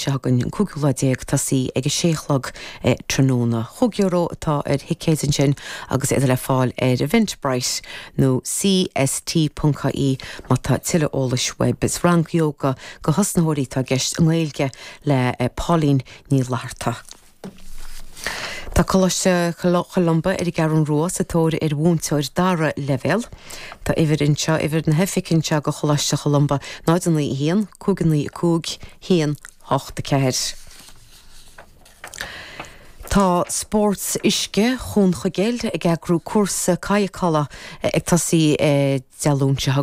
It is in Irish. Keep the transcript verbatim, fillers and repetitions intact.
seo chugainn an cúigiú lá déag tosaí ag a sé a chlog tráthnóna. Chúig euro atá ar thicéid ansin agus iad le fáil ar Eventbrite nó CST.ie má tá tuilleadh eolais uaibh. Is rang yoga do thosnaitheoirí atá i gceist i nGaeilge le Pauline Ní Fhlatharta. Tá Coláiste Cholumba ar an gCeathrú Rua sa tóir ar mhúinteoir dara leibhéal. Tá uimhir anseo uimhir na hoifige anseo go Choláiste Cholumba náid naoi haon, cúig naoi cúig, haon hocht a ceathair. Tá Spórt Uisce Chuan Chuigéil ag eagrú cúrsa cadhcála ag tosaí Dé Luain seo